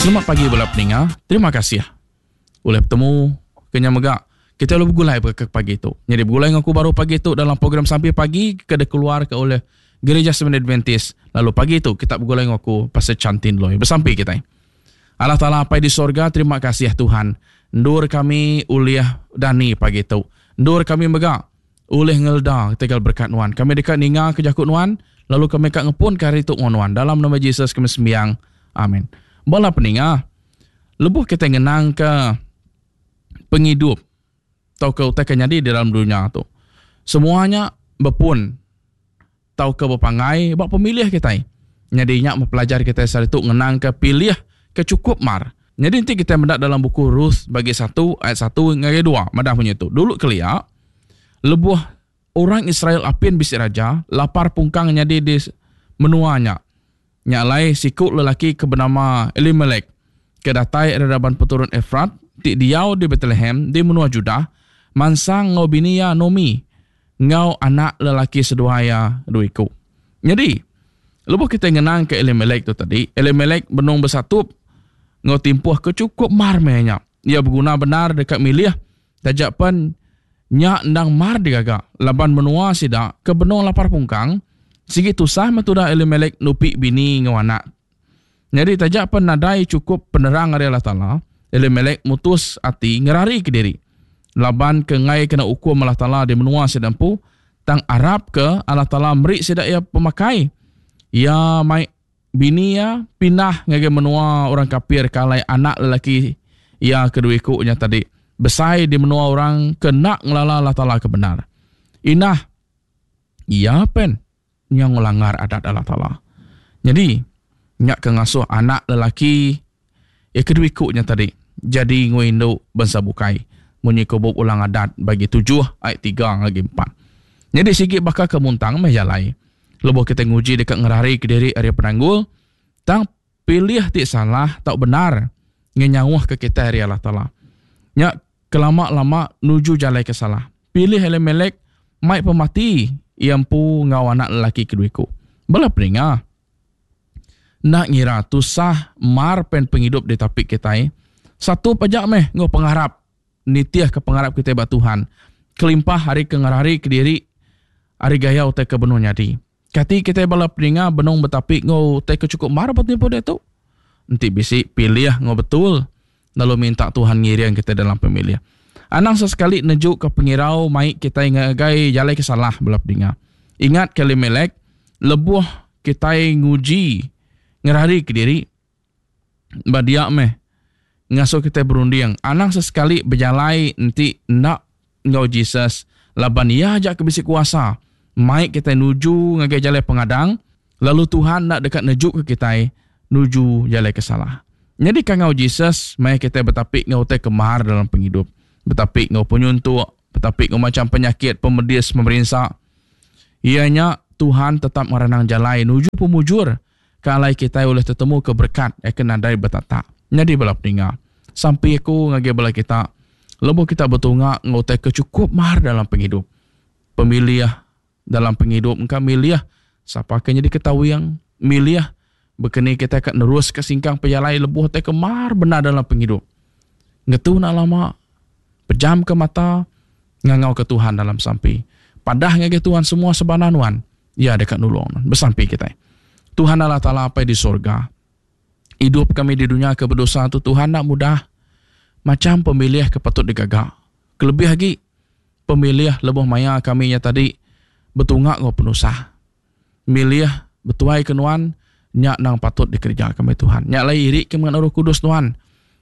Selamat pagi bala peninga. Terima kasih ulih betemu ke nya mega kita lalu begulai ke pagi tu. Nyadi begulai enggau aku baru pagi tu dalam program Sampi Pagi ke dikeluarka oleh Gereja Seventh Adventist. Lalu pagi tu kita begulai enggau aku Pastor Chantin Loy. Besampi kitai. Allah Taala Apai di sorga terima kasih Tuhan endur kami ulih dani pagi tu. Endur kami mega ulih ngeleda ketegal berkat nuan. Kami deka ninga ke jaku nuan lalu kami ka ngepun ke hari tu enggau nuan. Dalam nama Jesus kami sembiang. Amin. Bala peninga, lebuh kitai ngenang ke pengidup tauka utai ke nyadi di dalam dunya tu, semua nya bepun tauka bepanggai ba pemilih kitai. Nyadi nya meh pelajar kitai sehari tu ngenangka pilih ke chukup mar. Nyadi enti kitai meda dalam buku Ruth bagi satu ayat satu ngagai dua madah munyi tu, Dulu kelia, lebuh orang Israel apin bisi raja, lapar pungkang nyadi di menua nya. Nya alai siku lelaki ke benama Elimelek, ke datai ari raban peturun Efrat ti diau di Betlehem di menua Judah, mansang enggau bini iya Nomi enggau anak lelaki seduai iya dua iku. Nyadi, lebuh kitai ngenangka Elimelek tu tadi, Elimelek benung besatup enggau timpuh ke chukup mar meh nya. Iya beguna bendar deka milih taja pen nya endang mar digaga laban menua sida ke benung lapar pungkang sigi tusah meh tudah Elimelek nupi bini enggau anak. Nyadi taja pen nadai chukup penerang ari Allah Taala, Elimelek mutus ati ngerarika diri laban ke enggai kena ukum Allah Taala di menua sida empu tang arapka Allah Taala meri sida iya pemakai. Iya mai bini iya pindah ngagai menua orang kapir ke alai anak lelaki iya ke dua iku nya tadi besai di menua orang ke enda ngelala Allah Taala ke bendar. Indah iya pen Nya ngelanggar adat Allah Taala. Nyadi, nya ke ngasuh anak lelaki iya ke dua iku nya tadi jadi enggau indu bansa bukai munyi ko bup Ulang Adat bagi tujuh ayat tiga ngagai empat. Nyadi sigi baka ke muntang meh jalai lebuh kitai nguji deka ngerarika diri ari penanggul tang pilih ti salah tau bendar ngenyauhka kitai ari Allah Taala. Nya kelama-lama nuju jalai ke salah. Pilih Elimelek mai pemati iya empu enggau anak lelaki kedua iku. Bala peninga. Enda ngira tusah mar pen pengidup ditapi kitai, satup aja meh enggau pengarap nitihka pengarap kitai ba Tuhan kelimpah ari ke ngerarika diri ari gaya utai ke benung nyadi. Kati kitai bala peninga benung betapi enggau utai ke chukup mar ba tempoh diatu? Enti bisi, pilih enggau betul lalu minta Tuhan ngiring kitai dalam pemilih. Anang sesekali nejuka pengirau mai kitai ngagai jalai ke salah bala peninga. Ingat ke Elimelek, lebuh kitai nguji ngerarika diri ba dia meh ngasuh kitai berunding anang sesekali bejalai enti enda enggau Jesus laban iya aja ke bisi kuasa mai kitai nuju ngagai jalai pengadang lalu Tuhan enda deka nejuka kitai nuju jalai ke salah. Nyadi kangau Jesus maya kitai betapi enggau utai ke mar dalam pengidup, betapi enggau penyuntuk, betapi enggau macham penyakit, pemedis, pemerinsa, iya nya Tuhan tetap ngeranang jalai nuju pemujur ke alai kitai ulih tetemuka berekat iya ke nadai betatak. Nyadi bala peninga, sampi aku ngagai bala kita lebuh kita betunga enggau utai ke chukup mar dalam pengidup. Pemilih dalam pengidup engka milih sapa ke nyadi ketawing, milih bekeni kitai ka neruska singkang pejalai lebuh utai ke mar bendar dalam pengidup. Ngetu enda lama, pejamka mata, ngangauka Tuhan dalam sampi. Padah ngagai Tuhan semua sebana nuan. Iya deka nulung nuan. Besampi kitai. Tuhan Allah Taala Apai di sorga. Idup kami di dunya ke bedosa tu Tuhan enda mudah. Macham pemilih ke patut digaga. Kelebih agi pemilih lebuh maya kami nya tadi betunga enggau penusah. Milih betuai ke nuan nya endang patut dikereja kami Tuhan. Nya alai iri ke mengena Roh Kudus nuan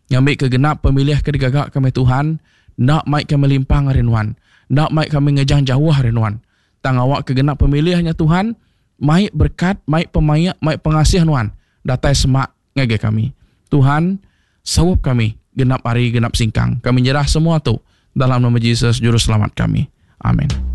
ngambika genap pemilih ke digaga kami Tuhan enda mai kami limpang ari nuan, enda mai kami ngejang jauh ari nuan. Tang awakka genap pemilih nya Tuhan, mai berekat, mai pemaik, mai pengasih Nuan datai semak ngagai kami. Tuhan, saup kami genap hari genap singkang. Kami nyerah semua tu dalam nama Jesus Juruselamat kami. Amen.